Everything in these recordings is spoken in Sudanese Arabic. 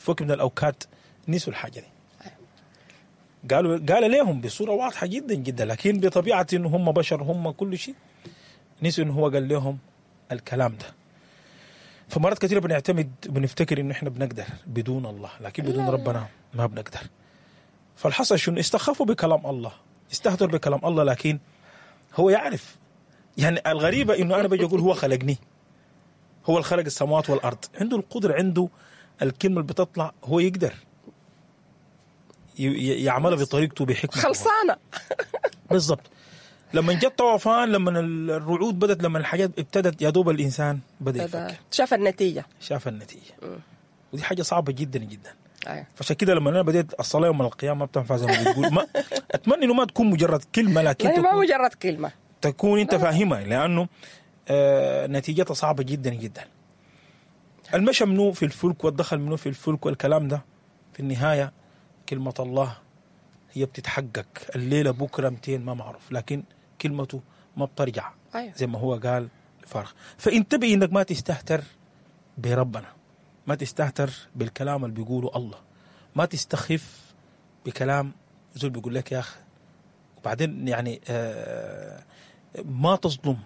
في وقت من الاوقات نسوا الحاجة دي. قال لهم بصورة واضحة جدا جدا، لكن بطبيعة انه هم بشر، هم كل شيء، نسوا انه هو قال لهم الكلام ده. فمرات كثيرة بنعتمد، بنفتكر انه احنا بنقدر بدون الله، لكن بدون ربنا ما بنقدر. فالحصل شنو؟ استخفوا بكلام الله، استهتروا بكلام الله، لكن هو يعرف. يعني الغريبة انه انا بجي اقول هو خلقني، هو اللي خلق السماوات والارض، عنده القدرة، عنده الكلمة اللي بتطلع، هو يقدر يعملها بطريقته بحكمته خلصانه. بالضبط. لما جت طوفان، لما الرعود بدت، لما الحاجات ابتدت، يا دوب الانسان بدا يفكر، شاف النتيجة، شاف النتيجة. ودي حاجة صعبة جدا جدا. فعشان كده لما انا بديت الصلاة يوم القيامة ما بتنفع زي ما بتقول، ما اتمنى انه ما تكون مجرد كلمة، لكن تكون ما مجرد كلمة، تكون انت فاهمها، لانه نتيجتها صعبة جدا جدا. المشى منه في الفلك والدخل منه في الفلك والكلام ده، في النهاية كلمة الله هي بتتحقق. الليلة بكره 200 ما معروف، لكن كلمته ما بترجع. زي ما هو قال فارغ. فانتبه انك ما تستهتر بربنا، ما تستهتر بالكلام اللي بيقوله الله، ما تستخف بكلام زول بيقول لك يا اخي. وبعدين يعني ما تظلم،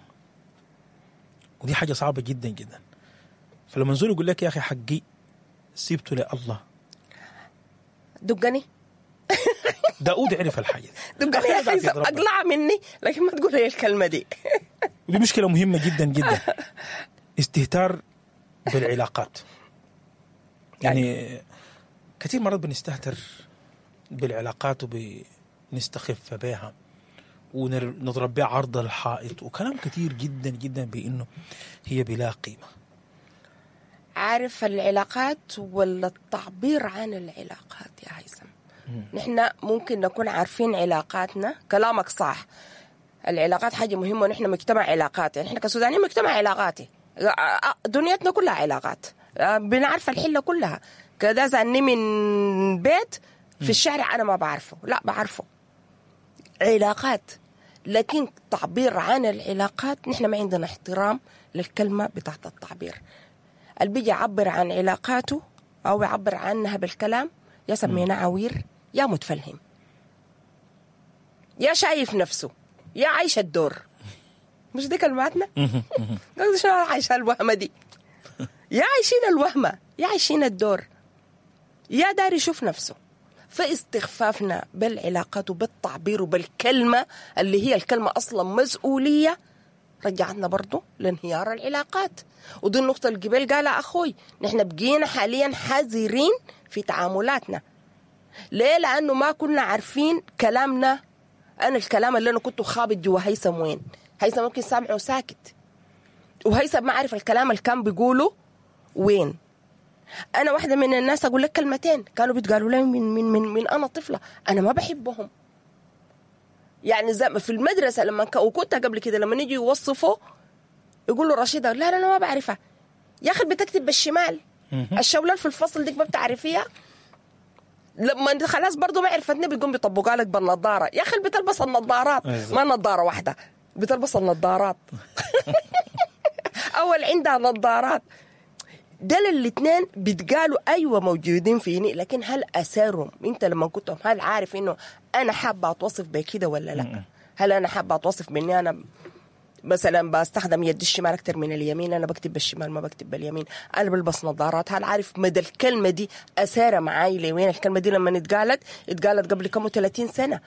ودي حاجة صعبة جدا جدا. فلما زول يقول لك يا اخي حقي سيبته لله، دقني. داود عرف الحاجة دي، دقني يا اخي، اقلع مني، لكن ما تقول لي الكلمة دي. ودي مشكلة مهمة جدا جدا، استهتار بالعلاقات. يعني كثير مرات بنستهتر بالعلاقات وبنستخف بها ونضرب بها عرض الحائط وكلام كثير جدا جدا بانه هي بلا قيمة. عارف العلاقات ولا التعبير عن العلاقات يا هيثم؟ نحن ممكن نكون عارفين علاقاتنا، كلامك صح، العلاقات حاجة مهمة، ونحن مجتمع علاقات، يعني نحن كسودانيين مجتمع علاقاتي، دنيتنا كلها علاقات، بنعرف الحلة كلها. كذا زاني من بيت في الشارع أنا ما بعرفه، لا بعرفه، علاقات. لكن تعبير عن العلاقات نحن ما عندنا احترام للكلمة بتاعت التعبير. اللي بيجي يعبر عن علاقاته أو يعبر عنها بالكلام يا سمينا عوير، يا متفلهم، يا شايف نفسه، يا عايش الدور. مش دي كلماتنا؟ شنو عايشة الوهمة دي؟ يا عايشين الوهمة، يا عايشين الدور، يا داري يشوف نفسه. فاستخفافنا بالعلاقات وبالتعبير وبالكلمة اللي هي الكلمة أصلا مسؤولية، رجعتنا برضو لانهيار العلاقات. ودي النقطة اللي قبل قالها أخوي، نحن بقينا حاليا حذرين في تعاملاتنا. ليه؟ لأنه ما كنا عارفين كلامنا. أنا الكلام اللي أنا كنت خابط جوا هيثم وين، هيثم ممكن سامعه ساكت، وهيثم ما عارف الكلام اللي كان بيقوله وين. أنا واحدة من الناس أقول لك كلمتين كانوا بيتقالوا لي من من من من أنا طفلة، أنا ما بحبهم. يعني زي في المدرسة لما وكنت قبل كده لما نيجي يوصفوا يقولوا رشيدة، لا لا أنا ما بعرفها. يا أخي بتكتب بالشمال، الشولال في الفصل ديك ما بتعرفيها. لما خلاص برضو ما عرفتني بيقوم بيطبقها لك بالنظارة. يا أخي بتلبس النظارات، ما نظارة واحدة، بتلبس النظارات. أول عندها نظارات. دل الاثنين بيتقالوا أيوة موجودين فيني، لكن هل أثرهم؟ أنت لما كنتهم هل عارف إنه أنا حابة أتوصف بكده ولا لا؟ هل أنا حابة أتوصف بإني أنا مثلا بستخدم يد الشمال أكتر من اليمين، أنا بكتب بالشمال ما بكتب باليمين، أنا بلبس نظارات؟ هل عارف مدى الكلمة دي أثارة معاي لوين؟ الكلمة دي لما اتقالت قبل كم 30 سنة،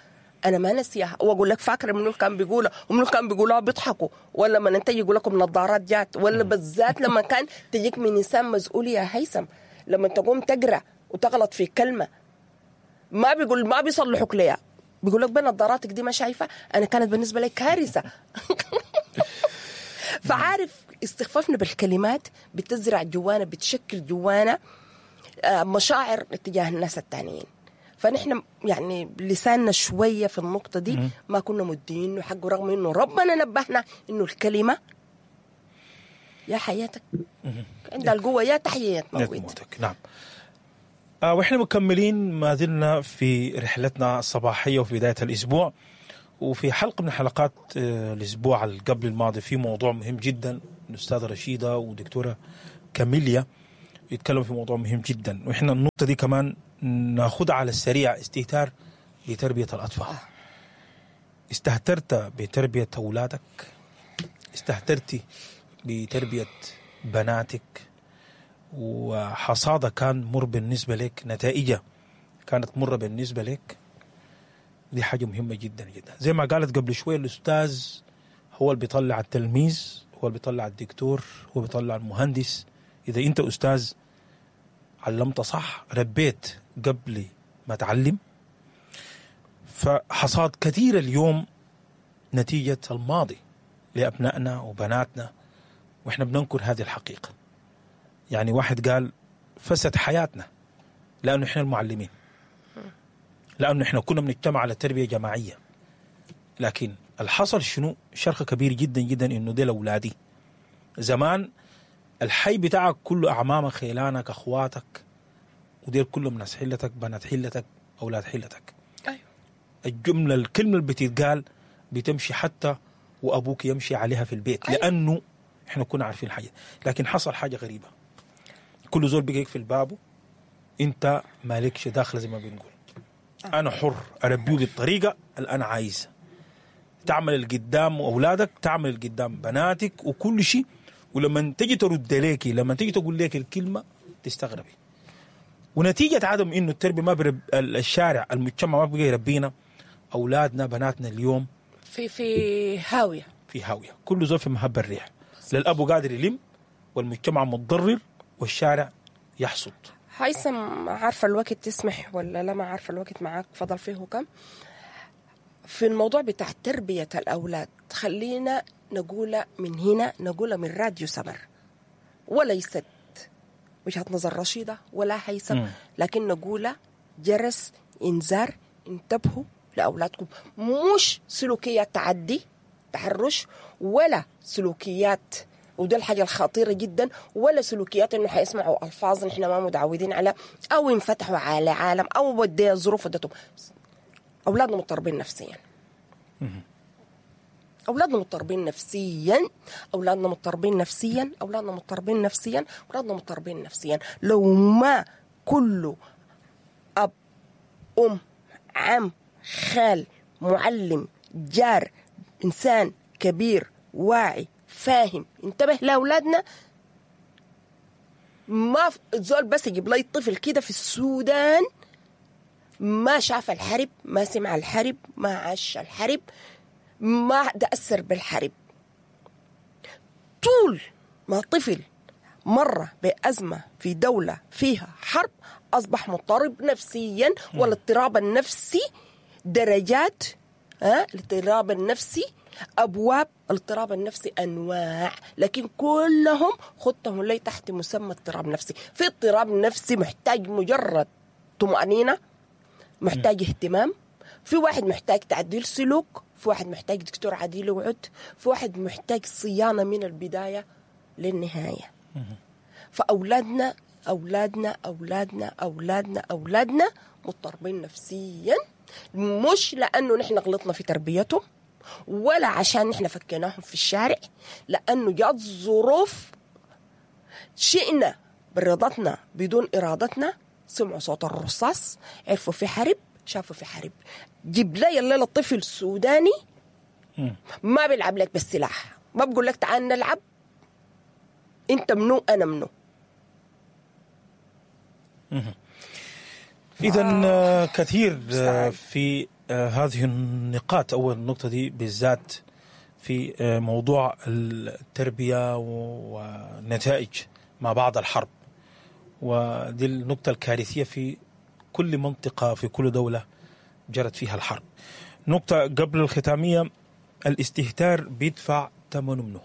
أنا ما نسيها. وأقول لك فاكرة منو كان بيقولها ومنو كان بيقولها بيضحكوا، ولا لما انت يقول لكم نظارات جات، ولا بالذات لما كان تجيك من إنسان مسؤول يا هيثم، لما تقوم تقرأ وتغلط في كلمة ما بيقول، ما بيصلحوك ليها، بيقول لك بنظاراتك دي ما شايفة. أنا كانت بالنسبة لي كارثة. فعارف استخفافنا بالكلمات بتزرع جوانا، بتشكل جوانا مشاعر اتجاه الناس التانيين. فنحن يعني لساننا شوية في النقطة دي ما كنا مدينة حقه، رغم إنه ربنا نبهنا إنه الكلمة يا حياتك عندها القوة يا تحية موتك. نعم. وإحنا مكملين ما زلنا في رحلتنا الصباحية وفي بداية الأسبوع، وفي حلقة من حلقات الأسبوع قبل الماضي في موضوع مهم جدا الأستاذة رشيدة ودكتورة كاميليا، يتكلم في موضوع مهم جدا، واحنا النقطة دي كمان ناخدها على السريع، استهتار بتربيه الاطفال. استهترت بتربيه اولادك، استهترتي بتربيه بناتك، وحصادة كان مر بالنسبة لك، نتائجها كانت مرة بالنسبة لك. دي حاجة مهمة جدا جدا. زي ما قالت قبل شوية، الاستاذ هو اللي بيطلع التلميذ، هو اللي بيطلع الدكتور، هو بيطلع المهندس. اذا انت استاذ علمت صح، ربيت قبل ما تعلم. فحصاد كثير اليوم نتيجة الماضي لأبنائنا وبناتنا، وإحنا بننكر هذه الحقيقة. يعني واحد قال فسد حياتنا لأنه إحنا المعلمين، لأنه إحنا كنا بنجتمع على تربية جماعية. لكن الحصل شنو؟ شرخ كبير جدا جدا، إنه ديل أولادي. زمان الحي بتاعك كله أعمامك، خيلانك، أخواتك، وديل كلهم ناس حلتك، بنات حلتك، أولاد حلتك. أيوه. الجملة، الكلمة اللي بتتقال بتمشي حتى وأبوك يمشي عليها في البيت. أيوة. لأنه إحنا كنا عارفين الحاجة. لكن حصل حاجة غريبة، كل زول بقى يقفل بابه، أنت مالكش داخل زي ما بنقول. أنا حر أربيه بالطريقة اللي أنا عايزها. تعمل القدام أولادك، تعمل القدام بناتك وكل شيء، ولما تجي ترد ليكي، لما تيجي تقول لك الكلمة تستغربي. ونتيجة عدم إنه التربية ما برب الشارع، المجتمع ما بقى يربينا أولادنا بناتنا اليوم في هاوية، في هاوية، كل زول في مهب الريح. للأبو قادر يلم، والمجتمع متضرر، والشارع يحصد. هيثم، عارفة الوقت تسمح ولا لا؟ ما عارفة الوقت معاك فضل فيه كم في الموضوع بتاع تربية الأولاد. خلينا نقول من هنا، نقول من راديو سمر، وليست وجهة نظر رشيدة ولا هيثم، لكن نقول جرس إنذار، انتبهوا لأولادكم. مش سلوكيات تعدي تحرش، ولا سلوكيات، وده الحاجة الخطيرة جدا، ولا سلوكيات انه حيسمعوا ألفاظ نحن ما متعودين على، أو ينفتحوا على عالم، أو ودي الظروف ودتهم. أولادنا مضطربين نفسيا، أولادنا مضطربين نفسيا، أولادنا مضطربين نفسيا، أولادنا مضطربين نفسيا، أولادنا مضطربين نفسيا. لو ما كله أب، أم، عم، خال، معلم، جار، إنسان كبير واعي فاهم انتبه لأولادنا. ما زول بس يجيب لي طفل كده في السودان ما شاف الحرب، ما سمع الحرب، ما عاش الحرب، ما تأثر بالحرب. طول ما طفل مر بأزمة في دولة فيها حرب أصبح مضطرب نفسيا. والاضطراب النفسي درجات، الاضطراب النفسي أبواب، الاضطراب النفسي أنواع، لكن كلهم خطهم لي تحت مسمى اضطراب نفسي. في اضطراب نفسي محتاج مجرد طمأنينة، محتاج اهتمام، في واحد محتاج تعديل سلوك، في واحد محتاج دكتور عديل وعد، في واحد محتاج صيانة من البداية للنهاية. فأولادنا أولادنا أولادنا أولادنا أولادنا مضطربين نفسيا، مش لأنه نحن غلطنا في تربيتهم ولا عشان نحن فكيناهم في الشارع، لأنه جات ظروف شئنا برضتنا بدون إرادتنا، سمعوا صوت الرصاص، عرفوا في حرب، شافوا في حرب. جيب لي الليلة الطفل السوداني ما بيلعب لك بالسلاح، ما بقول لك تعال نلعب، انت منو انا منو. إذا كثير في هذه النقاط، أو النقطة دي بالذات في موضوع التربية ونتائج ما بعد الحرب، ودي النقطة الكارثية في كل منطقة في كل دولة جرت فيها الحرب. نقطة قبل الختامية، الاستهتار بيدفع ثمنه منه.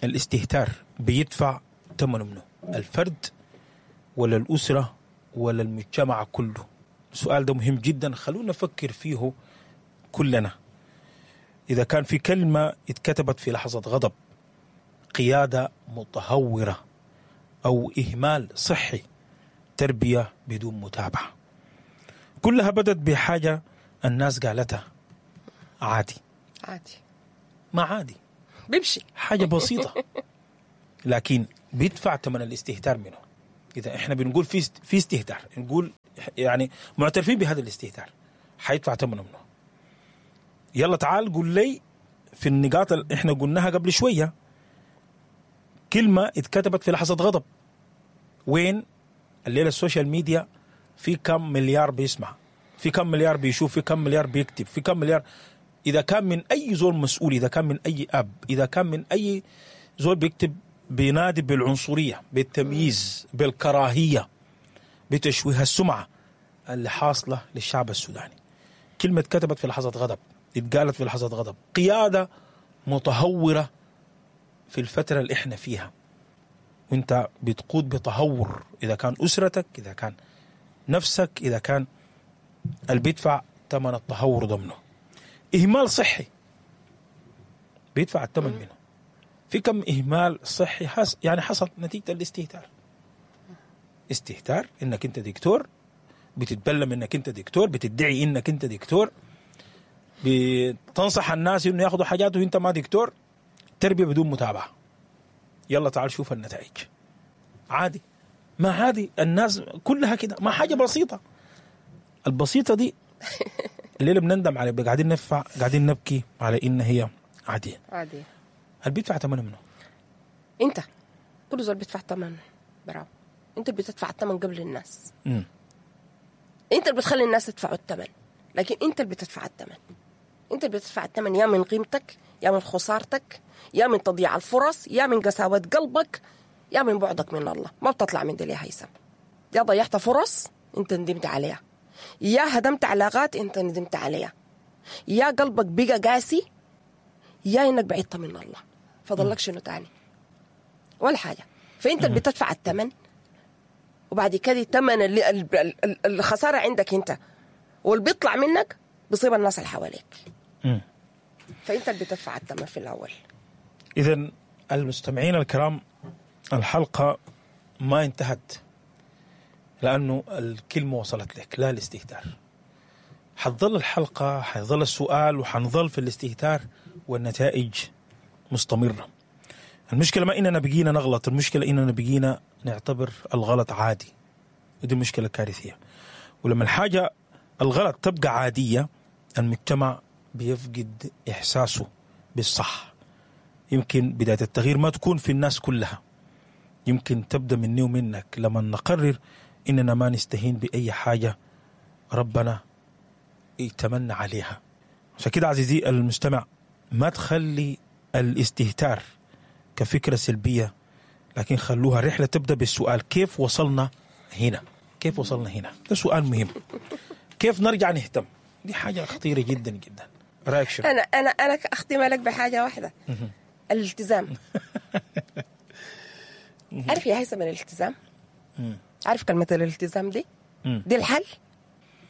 الاستهتار بيدفع ثمنه منه، الفرد ولا الأسرة ولا المجتمع كله؟ السؤال ده مهم جدا، خلونا نفكر فيه كلنا. إذا كان في كلمة اتكتبت في لحظة غضب، قيادة متهورة أو إهمال صحي، تربية بدون متابعة، كلها بدت بحاجة الناس قالتها عادي. عادي، ما عادي، بيمشي حاجة بسيطة، لكن بيدفع ثمن الاستهتار منه. اذا احنا بنقول في استهتار، نقول يعني معترفين بهذا الاستهتار، حيدفع ثمنه منه. يلا تعال قول لي في النقاط اللي احنا قلناها قبل شوية، كلمة اتكتبت في لحظة غضب، وين الليلة ال social media في كم مليار بيسمع، في كم مليار بيشوف، في كم مليار بيكتب، في كم مليار. اذا كان من اي زول مسؤول، اذا كان من اي اب، اذا كان من اي زول بيكتب بينادي بالعنصريه، بالتمييز، بالكراهيه، بتشويه السمعة اللي حاصله للشعب السوداني. كلمة اتكتبت في لحظة غضب، اتقالت في لحظة غضب، قيادة متهوره في الفترة اللي احنا فيها، وانت بتقود بتهور، اذا كان اسرتك، اذا كان نفسك، اذا كان اللي بيدفع ثمن التهور ضمنه. اهمال صحي بيدفع الثمن منه. في كم اهمال صحي يعني حصل نتيجة الاستهتار. استهتار انك انت دكتور، بتتبلم انك انت دكتور، بتدعي انك انت دكتور، بتنصح الناس انه ياخذوا حاجات وانت ما دكتور. تربيه بدون متابعه. يلا تعال شوف النتائج. عادي، ما عادي، الناس كلها كده، ما حاجة بسيطة. البسيطة دي الليلة بنندم عليها، قاعدين ندفع، قاعدين نبكي على ان هي عادية. عادية. هل بيدفع ثمنه منه؟ انت كل زول بيدفع ثمن براو. انت اللي بتدفع الثمن قبل الناس. انت اللي بتخلي الناس يدفعوا الثمن، لكن انت اللي بتدفع الثمن. انت اللي بتدفع الثمن، يا من قيمتك، يا من خسارتك، يا من تضييع الفرص، يا من قساوة قلبك، يا من بعدك من الله. ما بتطلع من دي يا هيثم. يا ضيعت فرص انت ندمت عليها، يا هدمت علاقات انت ندمت عليها، يا قلبك بقى قاسي، يا انك بعدت من الله. فضلك شنو تاني؟ ولا حاجة. فانت اللي بتدفع الثمن، وبعد كده الثمن اللي الخسارة عندك انت، واللي بيطلع منك بيصيب الناس اللي حواليك. فانت اللي بتدفع الثمن في الاول. اذا المستمعين الكرام، الحلقة ما انتهت لانه الكلمة وصلت لك، لا الاستهتار. حتظل الحلقة، حيظل السؤال، وحنظل في الاستهتار والنتائج مستمرة. المشكلة ما اننا بقينا نغلط، المشكلة اننا بقينا نعتبر الغلط عادي، ودي مشكلة كارثية. ولما الحاجة الغلط تبقى عادية، المجتمع بيفقد احساسه بالصح. يمكن بداية التغيير ما تكون في الناس كلها، يمكن تبدا مني ومنك لما نقرر اننا ما نستهين باي حاجة ربنا يتمنى عليها. عشان كده عزيزي المستمع، ما تخلي الاستهتار كفكرة سلبية، لكن خلوها رحلة تبدأ بالسؤال: كيف وصلنا هنا؟ كيف وصلنا هنا؟ ده سؤال مهم. كيف نرجع نهتم؟ دي حاجة خطيرة جدا جدا. رأيك شنو؟ أنا أختم لك بحاجة واحدة، الالتزام. عارف يا هيثم الالتزام؟ عارف كلمة الالتزام دي؟ دي الحل.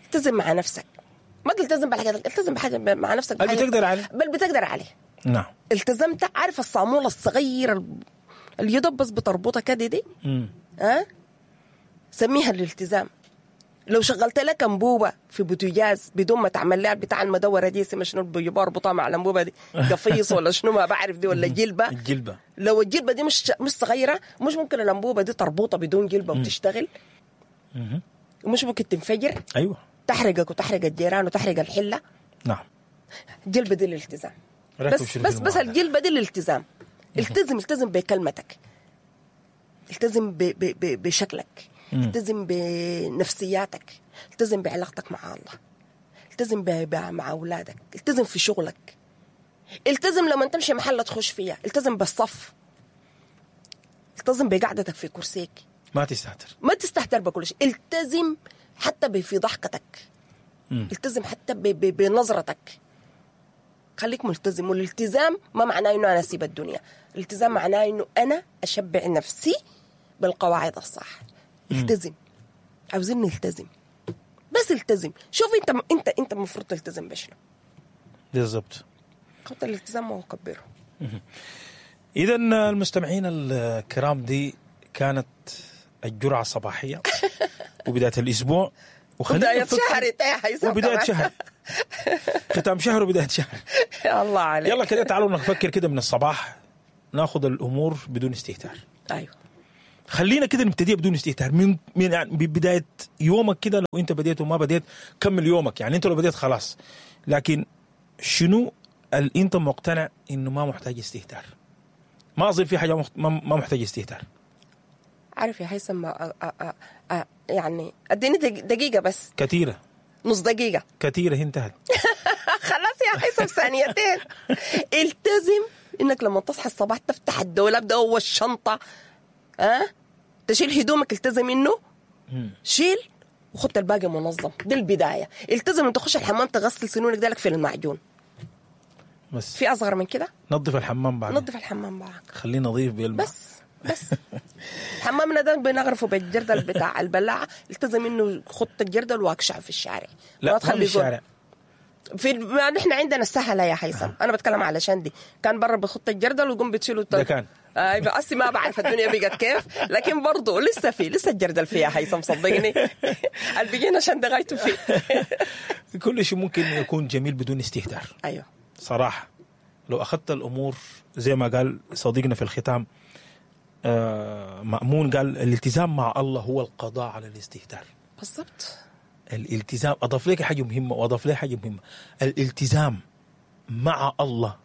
التزم مع نفسك، ما تلتزم بالحاجات، التزم بحاجة مع نفسك، بل بتقدر عليه، بل بتقدر عليه. نعم. التزمت. عارف الصامولة الصغيرة اللي يدب بس بتربطها كده دي؟ ها؟ سميها الالتزام. لو شغلت لك انبوبة في بوتجاز بدون ما تعمل لها بتاع المدوره دي، اسمها شنو بيجيبوها اربطها مع الانبوبة دي، قفيص ولا شنو ما بعرف دي، ولا جلبه. الجلبه، لو الجلبه دي مش صغيرة، مش ممكن الانبوبة دي تربطها بدون جلبه وتشتغل، ومش ممكن تنفجر. ايوه، تحرقك وتحرق الجيران وتحرق الحلة. نعم. الجلبه دي الالتزام. بس بس بس الجلبه دي الالتزام. التزم، التزم بكلمتك، التزم ب ب ب بشكلك، التزم بنفسياتك، التزم بعلاقتك مع الله، التزم مع اولادك، التزم في شغلك، التزم لما تمشي محل تخش فيها، التزم بالصف، التزم بقعدتك في كرسيك، ما تستهتر، ما تستهتر بكل شيء، التزم حتى في ضحكتك، التزم حتى بنظرتك، خليك ملتزم. والالتزام ما معناه انه انا اسيب الدنيا، الالتزام معناه انه انا اشبع نفسي بالقواعد الصح. التزم، عاوزين نلتزم، بس التزم. شوف انت انت المفروض تلتزم بشنو بالضبط. خط الالتزام وكبره. اذا المستمعين الكرام، دي كانت الجرعة الصباحية وبداية الاسبوع، وبداية شهر، وبداية شهر، ختام شهر وبداية شهر. الله عليك. يلا كده تعالوا نفكر كده من الصباح، ناخذ الامور بدون استهتار. ايوه، خلينا كده نبتدي بدون استهتار من يعني ببداية يومك كده. لو انت بديت وما بديت كمل يومك، يعني انت لو بديت خلاص، لكن شنو اللي انت مقتنع انه ما محتاج استهتار؟ ما اظن في حاجة ما محتاج استهتار. عارف يا هيثم، يعني اديني دقيقة بس. كثيرة، نص دقيقة كثيرة، انتهت. خلاص يا هيثم، ثانيتين. التزم انك لما تصحى الصباح تفتح الدولاب ده اول الشنطة، تشيل هدومك، التزم انه شيل وخد الباقي منظم، دي البداية. التزم ان تخش الحمام تغسل سنونك دالك في المعجون بس. في اصغر من كده؟ نظف الحمام بعد، نظف الحمام بعد، خليه نظيف بيلمع. بس حمامنا ده بنغرفه بالجردل بتاع البلاعة. التزم انه خط الجردل واقشع في الشارع. لا ما تخلي الشارع في ما نحن عندنا السهلة يا هيثم. انا بتكلم علشان دي كان برا بخط الجردل ويقوم بتشيله ده كان ايوه. أصلي ما بعرف الدنيا بقت كيف، لكن برضه لسه في، لسه الجردل فيها هيثم، صدقني. اللي بقينا عشان ده غايته فيه. كل شيء ممكن يكون جميل بدون استهتار. ايوه صراحة لو اخذت الامور زي ما قال صديقنا في الختام مأمون، قال الالتزام مع الله هو القضاء على الاستهتار. بالضبط. الالتزام، اضاف لك حاجة مهمة واضاف لي حاجة مهمة، الالتزام مع الله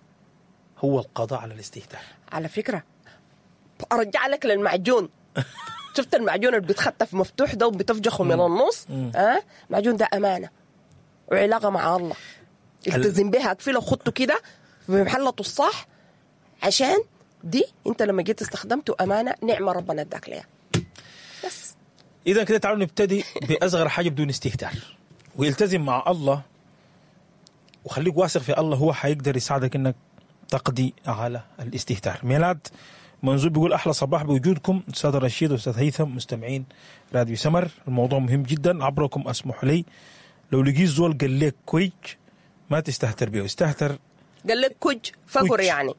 هو القضاء على الاستهتار. على فكرة ارجع لك للمعجون. شفت المعجون اللي بيتخطف مفتوح ده وبتفجخه من النص؟ المعجون ده امانه وعلاقة مع الله، التزم بها، اقفله وخطه كده في محلته الصح، عشان دي انت لما جيت استخدمته امانه، نعمه ربنا اداك ليها. بس اذا كده تعالوا نبتدي باصغر حاجة بدون استهتار، ويلتزم مع الله، وخليك واثق في الله، هو حيقدر يساعدك انك تقضي على الاستهتار. ميلاد منزول بيقول احلى صباح بوجودكم استاذ رشيد واستاذ هيثم، مستمعين راديو سمر، الموضوع مهم جدا عبركم، اسمح لي لو لقيت زول قال لك كويج ما تستهتر بيه، استهتر قال لك كج فقر يعني.